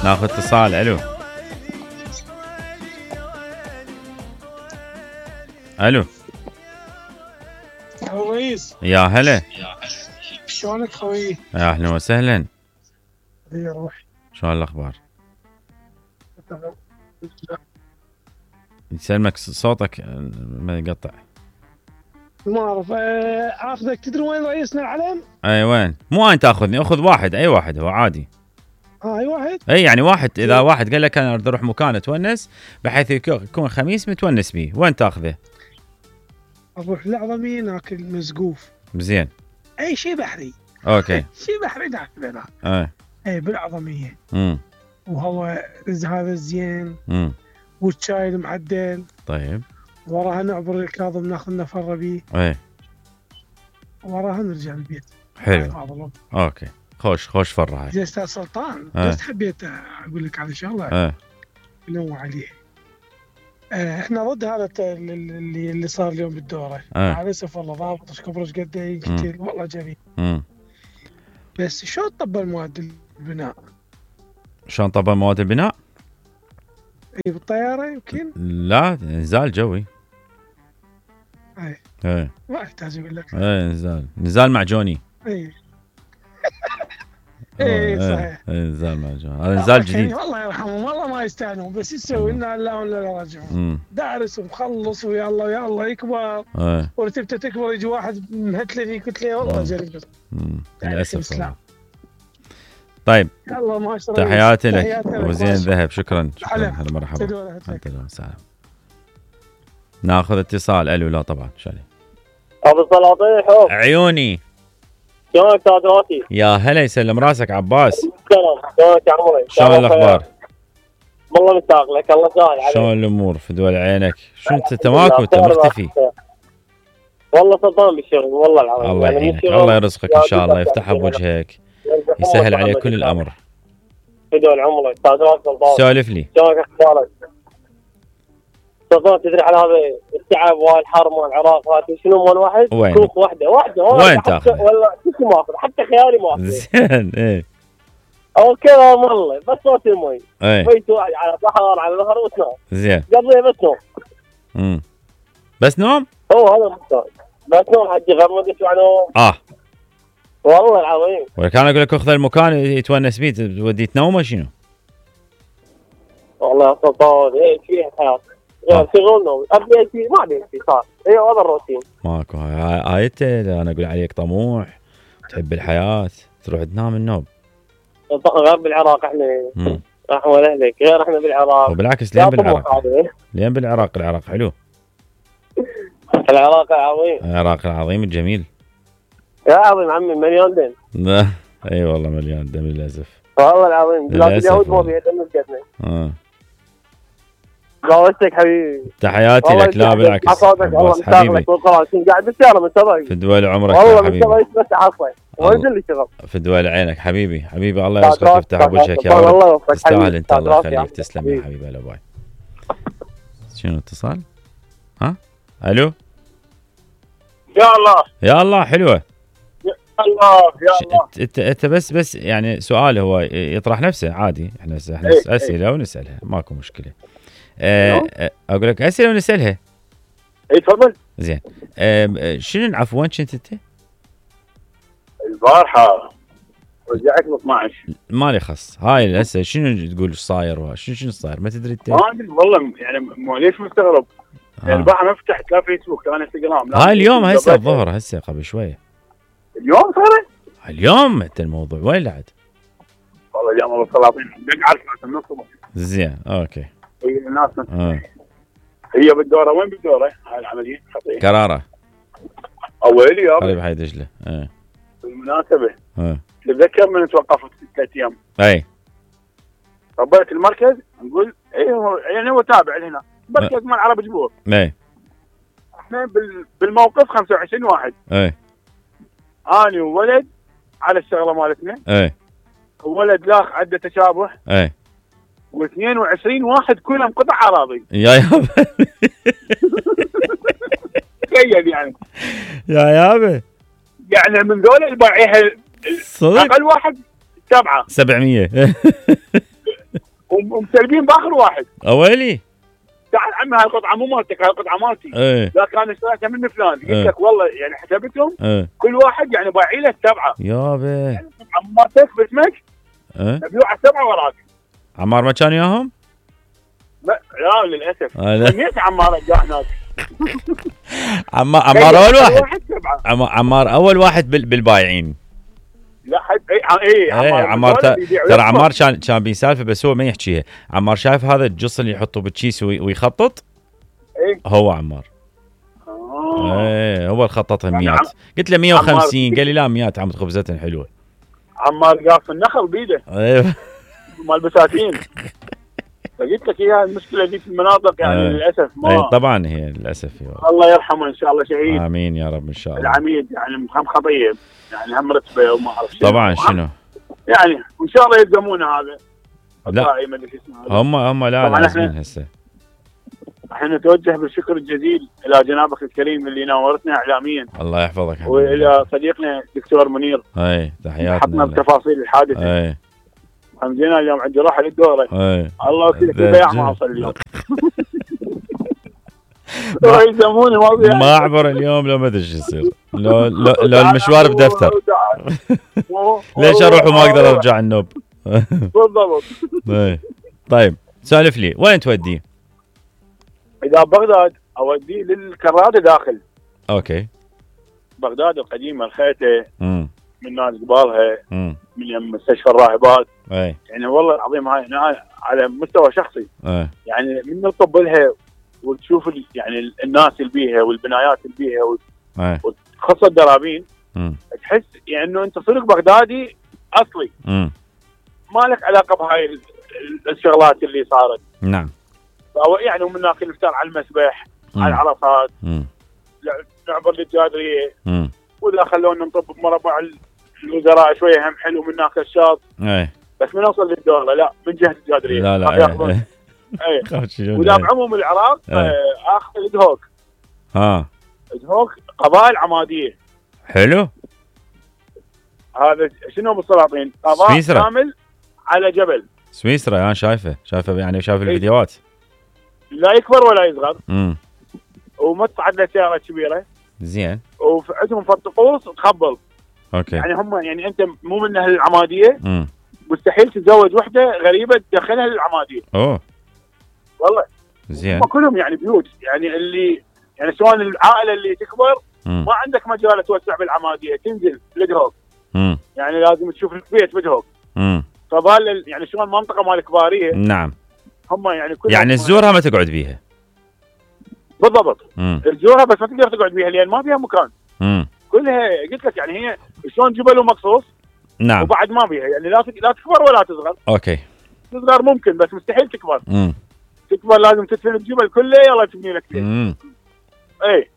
ناخذ اتصال. الو الو يا رئيس. يا هلا. شلونك خوي؟ يا اهلا وسهلا. يا روحي. شلون الاخبار؟ يسلمك صوتك ما يقطع. ما اعرف. اخذك. تدري وين رئيسنا العلم؟ اي وين؟ مو انت تاخذني، اخذ واحد، اي واحد هو عادي. اي واحد. اي يعني واحد، اذا واحد قال لك انا اريد اروح مكان اتونس بحيث يكون خميس متونس بيه، وين تاخذه؟ اروح العظمية ناكل مسقوف. زين. اي شيء بحري. اوكي. شيء بحري ناكل هناك. اي بالعظمية. وهو هذا زين. والشاي المعدل. طيب. وراها نعبر الكاظم ناخذ نفر بيه. اي. وراها نرجع البيت. حلو. اوكي. خوش فرحة. زين استاذ سلطان، بس حبيت اقول لك على شغله نوع عليه. احنا ضد هذا اللي صار اليوم بالدوره. على اسف والله ضابط ايش كبر ايش قد يقتل والله جميل. بس شلون طبق مواد البناء؟ شلون طبق مواد البناء؟ اي بالطياره يمكن؟ لا نزال جوي. اي ما يحتاج اقول لك. اي نزال معجوني. اي اي صحيح. نزال معجوني، هذا نزال جديد. والله يرحمهم والله ما يستاهلون، بس يسوي لنا الا ولا راجعون. دارس ومخلص ويا الله يا الله يكبر. ورتبته تكبر يجي واحد مهتلني قلت له والله جريمه. للاسف. طيب يلا ما اشرب. تحياتي لك وزين ذهب. شكرا هلا مرحبا. سلام. ناخذ اتصال. الو لا طبعا شالي ابو السلاطين حب عيوني. شلونك تاجراتي؟ يا هلا يسلم راسك عباس. شلونك يا عمري؟ شلون الاخبار؟ والله مشتاق لك. الله يسهل عليك. شلون الامور في دول عينك؟ شو انت ماكو، انت مختفي. والله سلطان بالشغل والله العظيم. الله يعينك، الله يرزقك ان شاء الله، يفتحها بوجهك، يسهل عليك كل الامر. في دول عمرك تاجرات سلطان. سولف لي. شلونك اخبارك؟ سلطان تدري على هذا التعب والحر مال العراق هذا شنو مال واحد؟ وين؟ كوخ واحده وين تاخذ؟ والله شو ما اخذ حتى خيالي ما اخذ. زين. ايه او كذا والله بس صوت المي. ايه بيت واحد على بحر على نهر وتنام. زين. قبل بس نوم. بس نوم؟ هو هذا المحتاج. بس نوم حجي غير ما ادري شو نوم. والله العظيم. وكان اقول لك اخذ المكان يتونس بيه توديه تنومه شنو؟ والله يا سلطان ايه فيها حياه. شغل نوم ابي شيء ما ابي شيء صار. اي هذا الروتين. ماكو هاي انا اقول عليك طموح تحب الحياه تروح تنام النوم. غير بالعراق احنا احوال اهلك غير احنا بالعراق. وبالعكس لين بالعراق. لين بالعراق. العراق حلو. العراق العظيم. العراق العظيم الجميل. يا عظيم عمي مليون دم. اي والله مليون دم للاسف. والله العظيم بلاد اليهود ما بيها دم بجدنا. قاوستك حبيبي. تحياتي لك. لا بالعكس عباس حبيبي. قاعد بالسيارة من تبعي. في دول عمرك والله حبيبي. من تبعي بس حصلي وانزل لي شغل. في دول عينك حبيبي. الله يرزقك يفتح بوجهك يا رب. تستاهل انت. الله يخليك. تسلم يا حبيبي. هلا باي. شنو اتصال؟ الو يا الله حلوه. يا الله انت بس يعني سؤال هو يطرح نفسه عادي. احنا اسئله ونسالها ماكو مشكله. اقول لك اسئله ونسالها. اي تفضل. زين. شنو العفو وين كنت انت؟ البارحه رجعت ب 12. مالي خص. هاي هسه شنو تقول صاير شنو صاير ما تدري انت؟ ما ادري والله يعني ليش مستغرب. البارحه ما فتحت لا فيسبوك لا انستغرام. هاي اليوم هسه الظهر هسه قبل شويه. اليوم صارت؟ اليوم انت الموضوع وين لعد؟ والله اليوم ابو السلاطين بقعد من الصبح. زين اوكي. هي الناس هي بالدوره. وين بالدوره هاي العمليه؟ كراره. اولي يا قريب حي دجله. بالمناسبه تتذكر من توقفت 3 ايام. اي ربيت المركز نقول يعني هو تابع لهنا مركز مال عرب جبور. اي احنا بالموقف 25 واحد. اي اني وولد على الشغله مالتنا. اي ولد لاخ عنده تشابه. اي و22 واحد كلهم قطع اراضي. يابا تخيل يعني. يابا يعني من ذول البايعيها صدق اقل واحد 700. ومسلبين باخر واحد. اويلي تعال عمي هاي القطعه مو مالتك، هاي القطعه مالتي. لا كان اشتريتها من فلان. قلت لك والله يعني حسبتهم كل واحد يعني بايعي له 7 يابا يعني مالتك باسمك مبيوعه 7 وراك. عمار ما كان ياهم؟ لا للاسف سميت عمار جاء هناك. عمار اول واحد. عمار اول واحد بالبايعين. لا عمار ترى عمار كان بيسالفه بس هو ما يحكيها. عمار شايف هذا الجص اللي يحطه بالكيس ويخطط؟ هو عمار. هو اللي خططها 100. قلت له 150 قال لي لا 100 عم خبزتها حلوه. عمار قاف النخل بيده. ايوه مال بساتين. فقلت لك هي المشكله دي في المناطق يعني للاسف ما طبعا هي للاسف. الله يرحمه ان شاء الله شهيد. امين يا رب ان شاء الله. العميد يعني هم خطيب يعني هم رتبه وما اعرف شنو. طبعا شنو يعني وان شاء الله يلزمونه هذا. لا هم لا لازمين هسه. احنا نتوجه بالشكر الجزيل الى جنابك الكريم اللي ناورتنا اعلاميا. الله يحفظك. والى صديقنا دكتور منير. تحياتنا. حطنا بتفاصيل الحادثه. همزينا اليوم عندي راحه للدوره. الله يوفقك البياع ما اوصل اليوم. يلزموني ما اعبر اليوم لو ما ادري ايش يصير. لو المشوار بدفتر. ليش اروح وما اقدر ارجع النوب؟ بالضبط. طيب سالف لي وين تودي؟ اذا بغداد اوديه للكراده داخل. اوكي. بغداد القديمه الخيته من ناس قبالها من مستشفى الراهبات. يعني والله العظيم هاي على مستوى شخصي. يعني من نطب لها وتشوف يعني الناس اللي بيها والبنايات اللي بيها وخاصه الدرابين تحس يعني انه انت صرت بغدادي اصلي. ما لك علاقه بهاي الشغلات اللي صارت. نعم. يعني ومن هناك نفتر على المسبح على العرفات نعبر للجادريه واذا خلونا نطب بمربع الوزراء شويه هم حلو من هناك الشاط. بس من نوصل للدوله لا من جهه الجادريه لا واذا بعموم العراق اخذ الدهوك. الدهوك قبائل عماديه. حلو. هذا شنو بالسلاطين؟ قضاء كامل على جبل. سويسرا انا شايفه يعني شايف الفيديوهات. لا يكبر ولا يصغر. وما تصعد له سياره كبيره. زين. وعندهم فالطقوس تخبل. اوكي. يعني هم يعني انت مو من اهل العماديه. مستحيل تتزوج وحده غريبه تدخلها للعماديه. والله. زين. هم كلهم يعني بيوت يعني اللي يعني سواء العائله اللي تكبر ما عندك مجال توسع بالعماديه تنزل لدهوك. يعني لازم تشوف البيت بدهوك. فبال يعني شلون المنطقه مال الكباريه. نعم. هم يعني كلهم يعني تزورها ما تقعد بيها. بالضبط. تزورها بس ما تقدر تقعد بيها لان ما فيها مكان. كلها قلت لك يعني هي شلون جبل ومقصوص. نعم. وبعد ما فيها يعني لا تكبر ولا تصغر. اوكي. تصغر ممكن بس مستحيل تكبر. تكبر لازم تدفن الجبل كله يلا تبني لك بيت. اي